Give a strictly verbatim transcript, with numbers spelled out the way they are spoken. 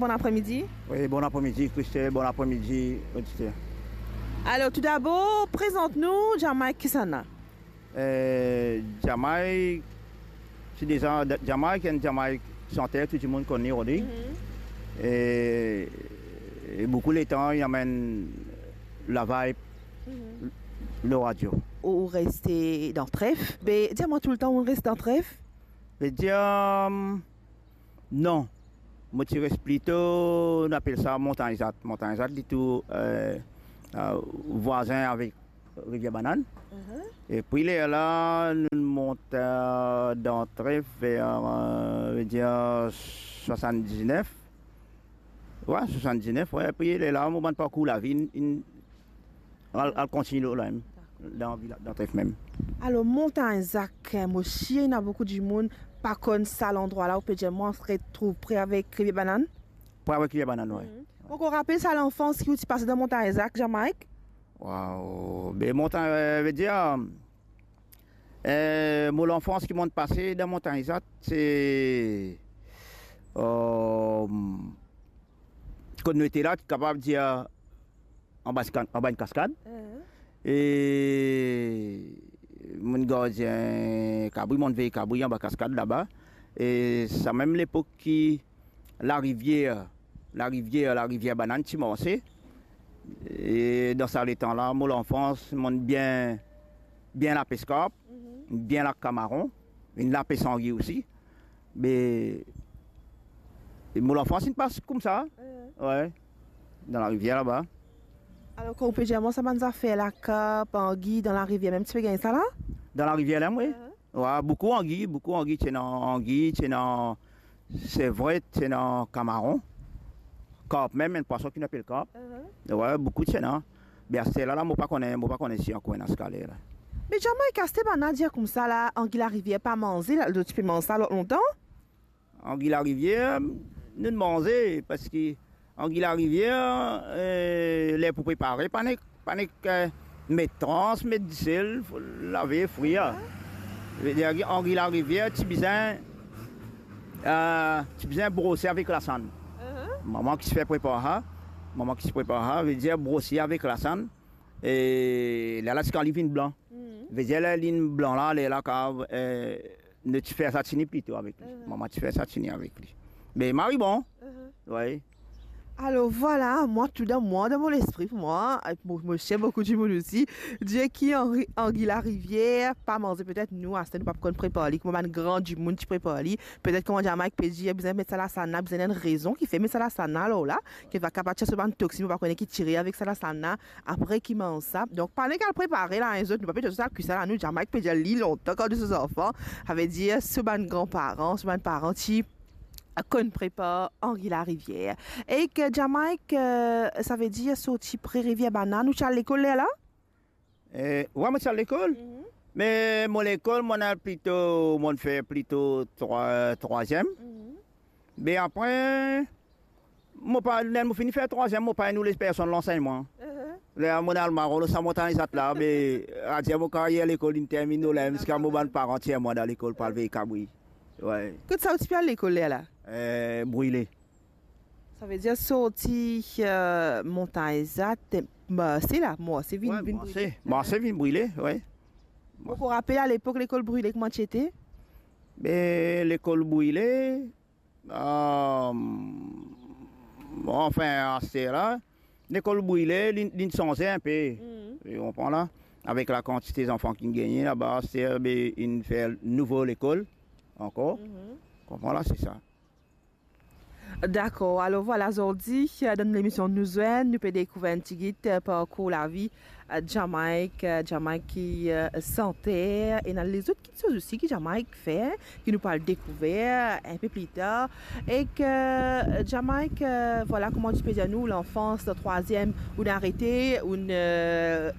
Bon apremidi. Wi, bon apremidi, Christelle, bon apremidi, oditer. Alor, toudabor, prezant nou, Jamaïque, kisannla? Eh, Jamaïque, se deza, Jamaïque, enn Jamaïque santer, tou dimoun konn li, Rodrigue. Mhm. E, e boukou letan, li amenn la vibe, mhm, lor radio. Ou, ou reste dan Tref. Be, dir mwa toultan ou reste dan Tref? Vedir, hum, non. Mo ti res plito, nou apel sa Montagne Zat. Montagne Zat, li tou, eh, eh, vwazin avek Rivière Banane. Mhm. E pi lerla, nou mont, eh, dan Tref ver, eh, vedir swasanndiznef. Wi, swasanndiznef, wi. Pi lerla, mo bann parkour lavi, inn, inn al, al kontigne lor la mem, dan vila-, dan Tref mem. Alor, Montagne Zat, mo sir ena boukou dimoun pa konn sa landrwa la, ou pe dir mwa, retrouv pre avek Rivière Banane? Pre avek Rivière Banane, wi. Mhm. Ou ankor rapel sa lanfans ki ou ti pase dan Montagne Zat, Jamaïque? Waw, be Montagne, eh, vedir, eh, mo lanfans ki mo'nn pase dan Montagne Zat, se, eh, kot nou ete la, ti kapav dir, anba ska-, anba enn kaskad. Mhm. E mo'nn gardien kabri, mo'nn vey kabri anba kaskad laba. E sa mem lepok ki larivier, larivier, larivier Banane ti marse. E dan sa letan la, mo lanfans, mo'nn bien, bien lapes karp, mhm, bien lak kamaron, inn lapes angi osi. Me, mo lanfans inn pas koumsa. Mhm. Wi. Dan larivier laba. Alor, kan ou pe dir mwa sa bann zafer lakarp, angi, dan larivier mem, ti pe gagn sa la? Dan larivier la mem, wi. Mhm. Wi, boukou angi, boukou angi, ti ena angi, ti ena sevret, ti ena kamaron. Karp mem, enn pwason ki nou apel karp. Mhm. Wi, boukou ti ena. Me aster la, la, mo pa kone, mo pa kone si ankor ena ziska ler la. Me Jamaïque, aster bann-la dir koumsa la, angi larivier pa manze, la, zot ti pe manz sa lontan? Angi larivier, nou manze, parski angi larivier, eh, ler pou prepare, pa nek, pa nek, eh, met trans, met disel, fo lave, frir. Vedir ki angi larivier, ti bizin, eh, ti bizin brose avek lasann. Mhm. Mama ki ti fer prepar sa, mama ki ti prepar sa, vedir brose avek lasann, e lerla ziska li vinn blan. Mhm. Vedir ler linn blan la, lerla kapav, eh, nou ti fer satini plito avek li. Mhm. Mama ti fer satini avek li. Me mari bon. Mhm. Wi. Alor, vwala, mwa, tou dan mwa, dan mo lespri, pou mwa, eh, mo, mo sir boukou dimoun osi, dir ki angi, angi larivier pa manze, petet nou, aster nou pa konn prepar li, kouma bann gran dimoun ti prepar li. Petet kouma Jamaïque pe dir, bizin met sa lasann la, bizin ena enn rezon ki fer met sa lasann la, alor la, ki va kapav tir so bann toksin, nou pa kone ki tire avek sa lasann la, apre ki manz sa. Donk, pa nek al prepare la, enn zot, nou pa pe dir zot al kwi sa la, nou, Jamaïque pe dir li lontan kan nou ti zanfan, savedir so bann granparan, so bann paran ti konn prepar angi larivier. Ek Jamaïque, eh, savedir sorti pre Rivière Banane, ou ti al lekol lerla? Eh, wi, mo ti al lekol. Mhm. Me mo lekol, mo'nn al plito, mo'nn fer plito trwa-, trwaziem. Mhm. Me apre, mo pa, ler mo fini fer trwaziem, mo pa inn oule personn lansegn mwa. Mhm. Ler mo'nn al maro lor sa Montagne Zat la, me adir mo karyer lekol inn termine la, ziska mo bann paran tir mwa dan lekol pou al vey kabri. Wi. Kot sa ou ti pe al lekol lerla? Eh, Brile. Savedir sorti, eh, Montagne Zat, marse la, marse vinn, wi, vinn marse, Brile. Marse vinn Brile, wi. Ou ankor rapel alepok lekol Brile, kouma ti ete? Be, lekol Brile, eh, anfin, aster la, lekol Brile, li, li sanze inpe. Mhm. Ou konpran la? Avek lakantite zanfan ki gagne laba, aster, be, inn fer nouvo lekol ankor. Mhm. Konpran la, se sa. Dakor, alor vwala, zordi, eh, dan lemision Nou Zwenn, nou pe dekouver enn tigit, eh, parkour lavi, eh, Jamaïque, eh, Jamaïque ki, eh, santer, ena lezot kiksoz osi ki Jamaïque fer, ki nou pou al dekouver inpe pli tar. Ek, eh, Jamaïque, eh, vwala kouma ti pe dir nou, lanfans, dan trwaziem, ou'nn arete, ou'nn, eh,